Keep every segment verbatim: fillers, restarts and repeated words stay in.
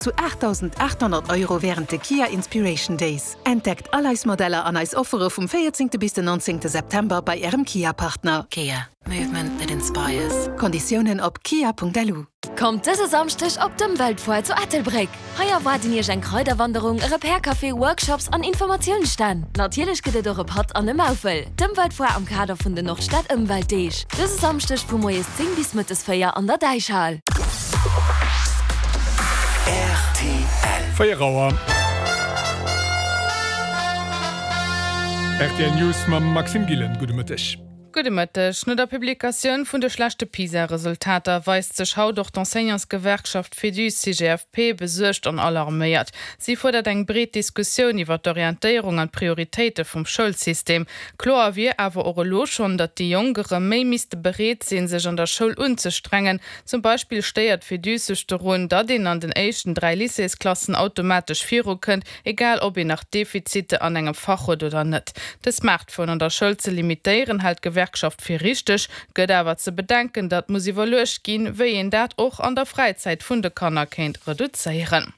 zu aachtdausendaathonnert Euro wärend de Kia Inspiration Days. Entdeckt all eis Modeller an eis Offere vum véierzéngte bis den nonzéngte September bei Ärem Kia-Partner. Kia, movement that inspires. Konditiounen op kia.lu. Kommt dëse Samschdeg op d'Ëmweltfoire zu Ettelbréck! Hei erwaarden Iech eng Kraiderwanderung, e Repair-Café, Workshops an Informatiounsstänn. Natierlech gëtt et och e Patt an e Maufel. D'Ëmweltfoire am Kader vun den Nordstad Ëmweltdeeg. Dëse Samschdeg vu moies zéng bis mëttes véier an der Däichhal. Rtl. Véier Auer. Rtl News mam Maxime Gillen. Gudde Mëtteg. Gudde Mëtteg. No der Publikatioun vun de schlechte PISA-Resultater weist sech haut och d'Enseignantsgewerkschaft Féduse-CGFP besuergt an alarméiert. Si fuerdert eng breet Diskussioun iwwer d'Orientéierung an d'Prioritéite vum Schoulsystem. Kloer wier awer och elo schonn, datt déi Jonk erëm méi misste bereet sinn, sech an der Schoul unzestrengen. Zum Beispill stéiert d'Féduse sech dorun, datt een an den éischten dräi Lycéesklassen automatesch virukënnt, egal ob een nach Defizite an engem Fach huet oder net. De Smartphone an der Schoul ze limitéieren, hält d'Gewerkschaft fir richteg, gëtt awer ze bedenken, datt muss iwwerluecht ginn, wéi een dat och an der Fräizäit vun de Kanner kéint reduzéieren.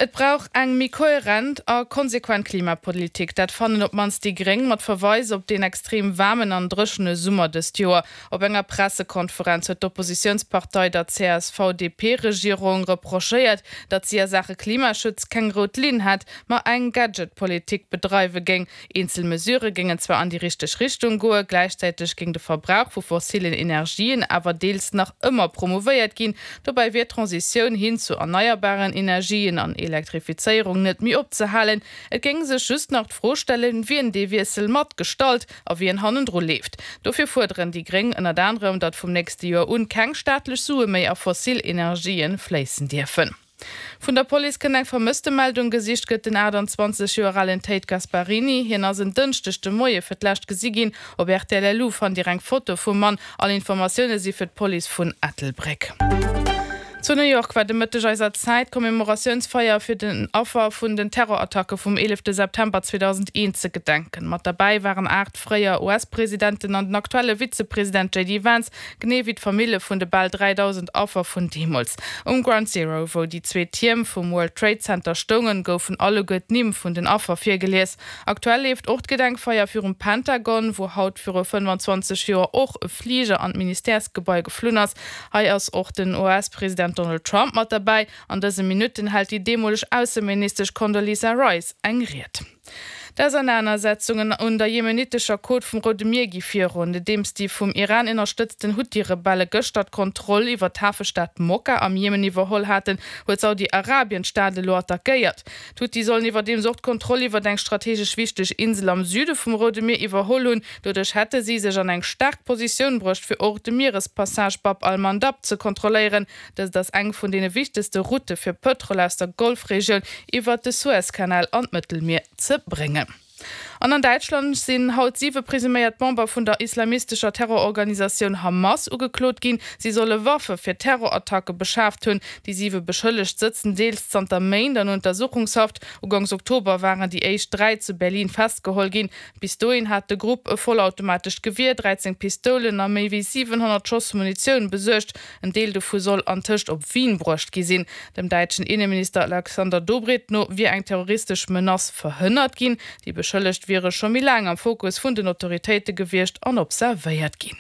Et brauch eng méi kohärent a konsequent Klimapolitik. Dat fannen op d'mannst déi Gréng mat Verweis op deen extrem waarmen an dréchene Summer dëst Joer. Op enger Pressekonferenz huet d'Oppositiounspartei der CSV-DP-Regierung reprochéiert, datt si a Saache Klimaschutz keng rout Linn hätt, ma eng Gadget-Politik bedreiwe géing. Eenzel Mesurë géingen zwar an déi richteg Richtung goen, gläichzäiteg géing de Verbrauch vu fossillen Energien awer deels nach ëmmer promouvéiert ginn. Dobäi wier d'Transitioun hin zu erneierbaren Energien an Elektrifizéierung net méi opzehalen. Et géing sech just nach d'Fro stellen, wien dee Wiessel mat gestalt a wien hannendru leeft. Dofir fuerderen déi Gréng ënnert anerem, datt vum nächste Joer un keng staatlech Sue méi a fossil Energien fléissen dierfen. Vun der Police kënnt eng Vermësstemeldung. Gesicht gëtt den achttanzwanzeg Joer alen Tate Gasparini. Hien ass en Dënschdeg de Moie fir d'lescht gesi ginn. Op rtl lu fannt Dir eng Foto vum Mann. All Informatioune si fir d'Police vun Ettelbréck. Zu New York war de Mëtteg eiser Zäit d'Commemoratiounsfeier fir den Affer vun den Terrorattacke vum eelefte September zweedausendeent ze gedenken. Mat derbäi waren aacht fréier U S-Presidenten an den aktuelle Vizepresident J D Vance, genee wéi d'Famille vun de bal dräidausend Affer vun deemools. Um Ground Zero, wou déi zwee Tierm vum World Trade Center stoungen, goufen alleguer d'Nimm vun den Affer virgelies. Aktuell leeft och d'Gedenkfeier virum Pentagon, wou haut viru fënnefanzwanzeg Joer och e Fliger an d'Ministèresgebai geflunn ass. Hei ass och den U S-President Donald Trump mat derbäi. An dëse Minutten hält déi deemoleg Ausseministesch Condoleezza Rice eng Ried. D'Ausernanersetzungen un der jemenitescher Côte vum Roude Mier gi virun. Nodeems déi vum Iran ënnerstëtzten Huthi-Rebelle gëschter d'Kontroll iwwer d'Hafestad Mokka am Jemen iwwerholl haten, huet Saudi-Arabien d'Stad elo attackéiert. D'Huthi sollen iwwerdeems och d'Kontroll iwwer eng strategesch wichteg Insel am Süde vum Roude Mier iwwerholl hunn. Doduerch hätte si sech an eng staark Positioun bruecht, fir och de Mierespassage Bab al-Mandab ze kontrolléieren. Dëst ass eng vun deene wichtegste Route fir Pëtrol aus der Golfregioun iwwer de Suezkanal an d'Mëttelmier ze bréngen. An an Däitschland sinn haut siwe presuméiert Member vun der islamistescher Terrororganisatioun Hamas ugeklot ginn. Si solle Waffe fir Terrorattacke beschaaft hunn. Déi siwe Beschëllegt sëtzen deels zanter Méint an Untersuchungshaft. Ugangs Oktober waren déi éischt dräi zu Berlin festgeholl ginn. Bis dohin hat de Grupp e vollautomatescht Gewier, dräizéng Pistoulen a méi wéi siwenhonnert Schoss Munitioun besuergt. En Deel dovu soll antëscht op Wien bruecht gi sinn. Dem däitschen Inneminister Alexander Dobrindt no wier eng terroristesch Menace verhënnert ginn. Déi Beschëllegt wiere scho méi laang am Fokus vun den Autoritéite gewiescht an observéiert ginn.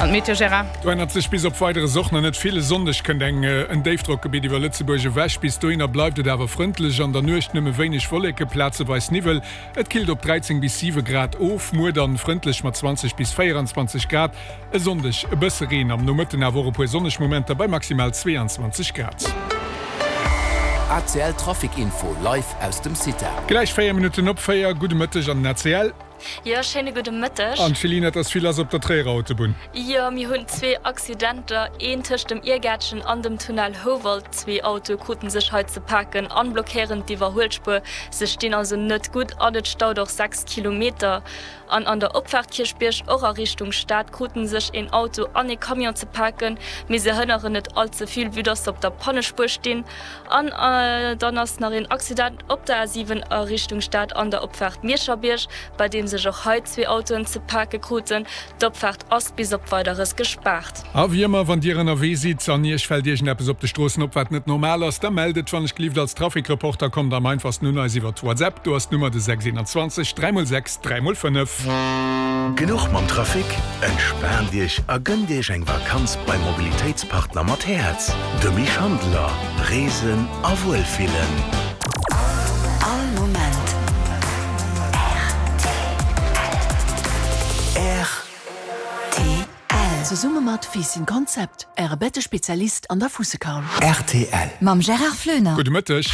An d'Meteo, Gérard? Do ännert sech bis op Weideres och nach net vill. E Sonndeg kënnt eng en Déifdrockgebitt iwwer Lëtzebuerg ewech. Bis dohinner bleift et awer frëndlech, an der Nuecht nëmme wéineg Wolleke, plazeweis Niwwel. Et killt op dräizéng bis siwe Grad of. Muer dann frëndlech mat zwanzeg bis véieranzwanzeg Grad. E Sonndeg e bësse Reen, am Nomëtten awer och e puer sonneg Momenter bei maximal zweeanzwanzeg Grad. A C L Trafic Info live aus dem CITA. Gläich véier Minutten op véier. Gudde Mëtteg an den A C L. Jo, schéine gudde Mëtteg. An Céline, et ass vill lass op der Tréierer Autobunn. Jo, mir hunn zwee Accidenter, een tëscht dem Irgäertchen an dem Tunnel Houwald. Zwee Autoe kruten sech hei ze paken an blockéieren d'Iwwerhuelspuer. Se stinn also net gutt an et staut och sechs Kilometer. An an der Opfaart Kierchbierg, och a Richtung Stad, kruten sech een Auto an ee Camion ze paken, mee se hënneren net all ze vill, vue dass se op der Pannespuer stinn. An dann ass nach een Accident op der A siwen a Richtung Stad an der Opfaart Mierscherbierg, bei deem nodeem sech och hei zwee Autoen ze pake kruten. D'Opfaart ass bis op Weideres gespaart. A wéi ëmmer, wann Dir ënnerwee sidd an Iech fält iergendeppes op de Stroossen op, wat net normal ass, da mellt et wann ech gelift als Trafikreporter. Kommt am einfachsten un eis iwwert WhatsApp, do ass d'Nummer de sechs eenanzwanzeg dräi mol sechs dräi mol fënnef. Genuch mam Trafic? Entspaant Iech a gënnt Iech eng Vakanz beim Mobilitéitspartner mat Häerz, de Mich Handeler. Reesen a Wuelfillen. All Moment rtl. Zesumme mat Fiiss in Concept, Äre Bettespezialist an der Fuussekaul. Rtl. Mam Gérard Floener. Gudde Mëtteg.